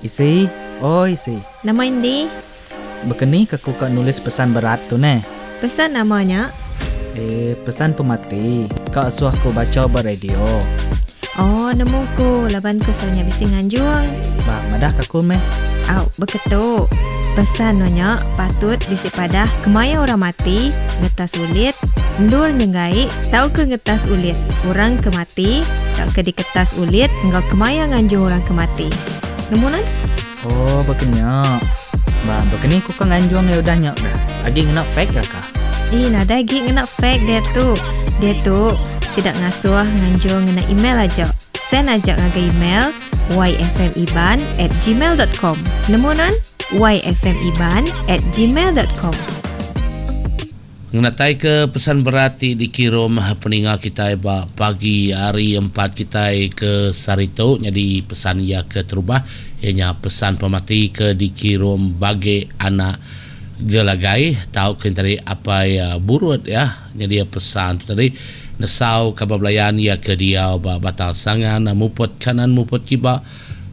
Isi, oi isi. Nama indi? Bekeni ke ku ka nulis pesan berat tu neh. Pesan nama nya? Eh, pesan pemati ka asuh ku bacha ba radio. Oh, nemu ku laban ku selalu nya bisi nganjung. Ba, madah ka ku meh. Au, beketu. Pesan nu nya patut bisi padah kemaya orang mati, ngetas ulit, endur nyenggai tauka ngetas ulit orang ke mati tauka diketas ulit enggau kemaya nganjung orang ke mati. Nemu nuan? Oh, baka nya. Ba, baka ni ku ka nganjung iya udah nya ga? Agi ngena fax ga kah? Ih, nadai agi ngena fax diatu. Diatu, sida ngasuh nganjung ngena email aja. Send aja ngagai email yfmiban at gmail dot com. Nemu nuan? yfmiban at gmail dot com. Ngenataika pesan berat ti dikirum peninga kitai ba pagi hari empat kitai ke sehari tu nyadi pesan iya ke terubah iya nya pesan pemati ke dikirum bagi anak Gelagai tauka nya tadi apai Burut iya nyadi pesan tu tadi nesau kaban belayan iya ke diau ba Batang Sangan muput kanan muput kiba.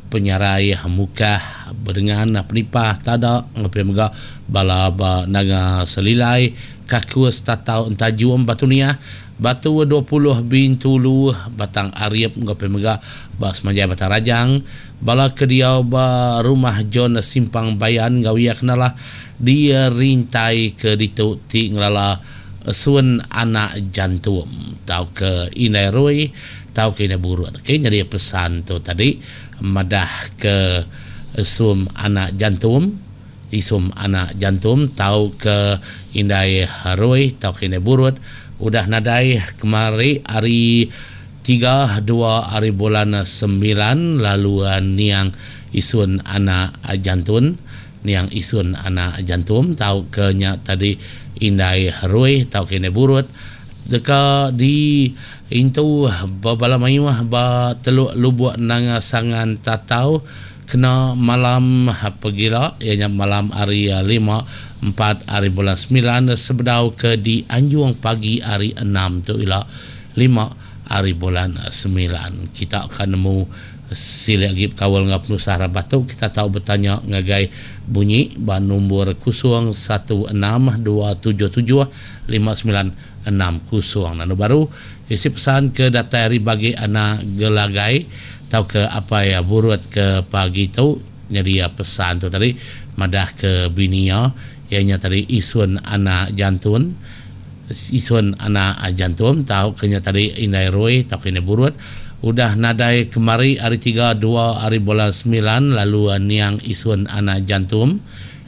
Penyarai Mukah Bedengan Penipah Tada enggau pia mega bala ba Nanga Selilai, Kakus Tatau Entajum Batu Niah, Batu 20 Bintulu, Batang Arip enggau pia mega ba Semanjai Batang Rajang, bala ke diau ba Rumah John Simpang Bayan enggau iya kenalah dirintai ke ditu ti ngelala Esun Anak Jantum tauka Indai Rui. Tauka indai burut. Okey nyadi pesan tu tadi madah ke sum anak jantum, isum anak jantum tauka indai rui tauka indai burut udah nadai kemari hari tiga dua hari bulan semilan lalu niang isun anak jantun niang isun anak jantum tauka nya tadi indai rui tauka indai burut deka di Intu bebala mayuh ba Teluk Lubuk Nanga Sangan Tatau kena malam pegila iya nya malam hari lima empat hari bulan semilan sebedau ke dianjung pagi hari enam tu ila lima hari bulan semilan. Kita ka nemu silik agi bekaul enggau penusah rabat tu kita tau betanya ngagai bunyi ba nombor kosong satu enam dua tujuh tujuh lima semilan enam kusung. Lalu baru isi pesan ke datai ari bagi anak Gelagai tauka apai Burut ke pagi tu nyadi pesan tu tadi madah ke bini iya iya nya tadi Isun anak Jantun Isun anak Jantum tauka nya tadi Indai Rui tauka Indai Burut udah nadai kemari hari tiga dua hari bulan semilan lalu niang Isun anak Jantum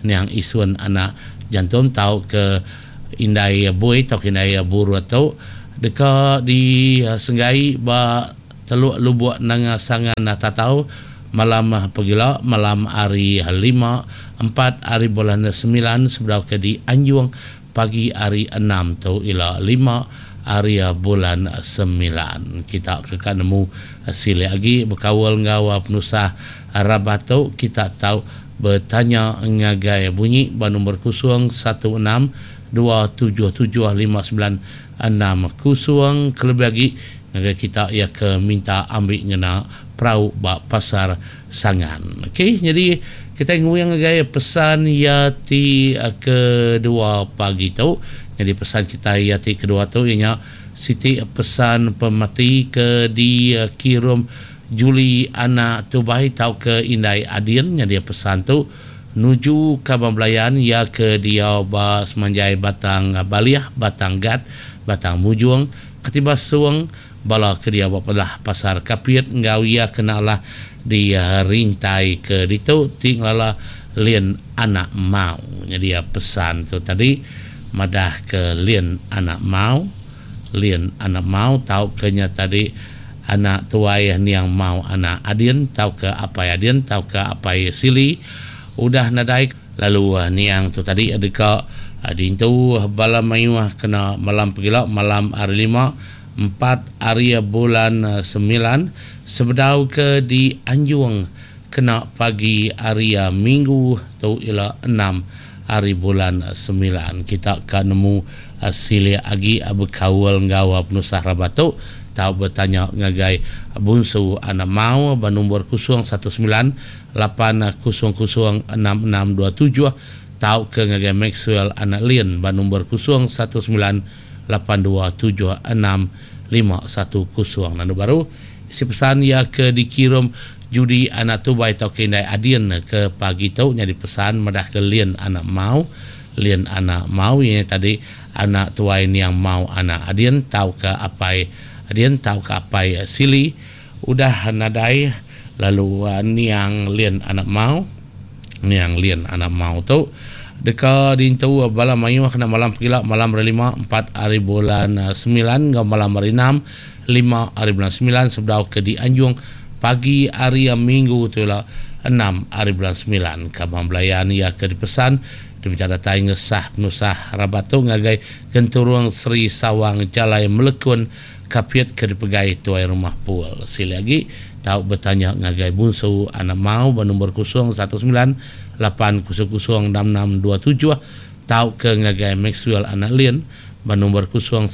niang Isun anak Jantum tauka Indai Bui tauka Indai Burut tu deka disenggai ba Teluk Lubuk Nanga Sangan Tatau malam pegila malam hari lima empat hari bulan semilan sebedau ke dianjung pagi hari enam tu ila lima hari bulan semilan. Kita ke ka nemu silik agi bekaul enggau penusah rabat tu kita tau Betanya ngagai bunyi ba nombor 016 277 5960 kelebih agi ngagai kita iya ke minta ambi ngena perau ba pasar Sangan. Okey nyadi kitai nguing ngagai pesan iya ti kedua pagi tu. Nyadi pesan kitai iya ti kedua tu iya nya siti pesan pemati ke dikirum Julie anak Tubai tauka indai Adin nyadi pesan tu nuju kaban belayan iya ke diau ba semanjai Batang Balih, Batang Gat, Batang Mujong, Ketibas Sung, bala ke diau ba pelah Pasar Kapit enggau iya ke enda alah di rintai ke ditu ti ngelala Lin anak Mau. Nyadi pesan tu tadi madah ke Lin anak Mau. Lin anak Mau tauka nya tadi anak tuai niang Mau anak Adin tauka apai Adin tauka apai Sili udah nadai lalu niang tu tadi deka diintu bala mayuh kena malam pegila malam hari lima empat hari bulan semilan sebedau ke dianjung kena pagi hari minggu tu ila enam ari bulan semilan. Kita ka nemu silik agi bekaul enggau penusah rabat tu. Tau betanya ngagai Bunsu Anak Mau ba nombor 019 800 6627 tauka ngagai Maxwell Anak Lin ba nombor 019 8276 510. Lalu baru isi pesan iya ke dikirum Judi Anak Tubai tauka Indai Adin ke pagi tu nyadi pesan madah ke Lin Anak Mau. Lin Anak Mau iya nya tadi anak tuai niang Mau Anak Adin tauka apai Adin tauka apai Sili udah nadai lalu niang Lin Anak Mau. Niang Lin Anak Mau tu deka diintu bala mayuh kena malam pegila malam hari lima empat hari bulan semilan enggau malam hari enam lima hari bulan semilan sebedau ke dianjung pagi hari minggu tu ila enam hari bulan semilan. Kaban belayan iya ke dipesan diminta datai ngesah penusah rabat tu ngagai Genturung Seri Sawang Jalai Melekun Kapit ke dipegai Tuai Rumah Pul. Silik agi tau betanya ngagai Bunsu Anak Mau ba nombor 019 800 6627 tauka ngagai Maxwell Anak Lin ba nombor 019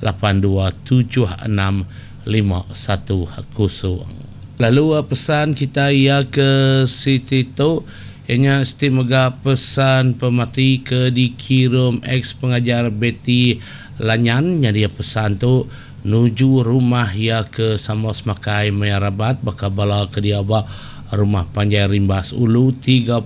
8276 510. Lalu pesan kitai iya ke siti tu iya nya siti mega pesan pemati ke dikirum ex pengajar Betty Lanyan nyadi pesan tu nuju rumah iya ke sama semakai maya rabat baka bala ke diau ba Rumah Panjai Rimbas Ulu 32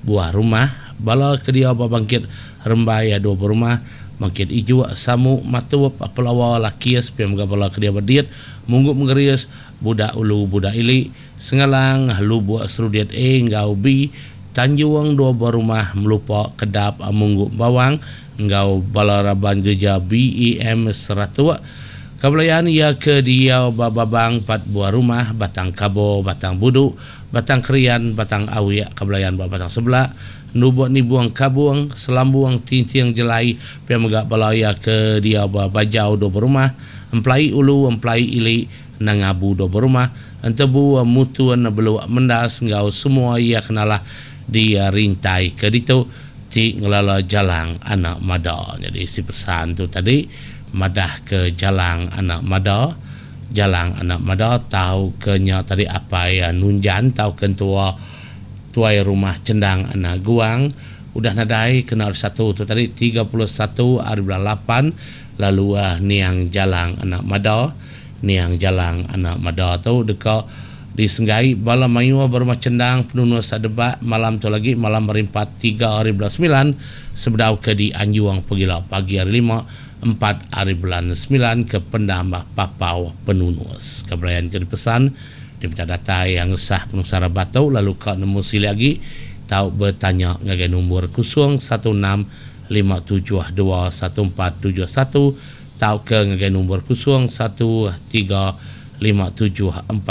buah rumah, bala ke diau ba Bangkit Rembai dua buah rumah, Bangkit Ijuk, Samu, Matup, Pelawa, Lakis pia mega bala ke diau ba Dit, Munggu Menggeris, Budak Ulu, Budak Ili, Sengalang, Lubuk Serudit A enggau B, Tanjung dua buah rumah, Melupa, Kedap, Munggu Bawang enggau bala raban gerija BEM Seratuk. Kebelayan iya ke diau ba Babang empat buah rumah, Batang Kabo, Batang Budu, Batang Krian, Batang Awik, Kebelayan ba Batang Sebelak, Nubuk Nibung Kabung, Selambung, Tinting Jelai, pia mega bala iya ke diau ba Bajau dua buah rumah, Emplai Ulu, Emplai Ili, Nangabu dua buah rumah, Entebu, Mutun, Beluk, Mendas enggau semua iya ke nalah di rintai ke ditu ti ngelala Jalang Anak Mada. Nyadi isi pesan tu tadi madah ke Jalang Anak Mada, Jalang Anak Mada tauka nya tadi apai Nunjan tauka entua tuai rumah Chendang Anak Guang udah nadai kena hari Satu tu tadi 31 hari bulan lapan lalu niang Jalang Anak Mada. Niang Jalang Anak Mada tu deka disenggai bala mayuh ba Rumah Chendang Penunus Debak malam tu lagi malam hari empat tiga hari bulan semilan sebedau ke dianjung pegila pagi hari lima empat hari bulan semilan ke Pendam Papau Penunus. Ke belayan ke dipesan diminta datai ngesah penusah rabat tu lalu ka nemu silik agi tau betanya ngagai nombor 016 572 1471 tauka ngagai nombor 0 1 3 5 7 4.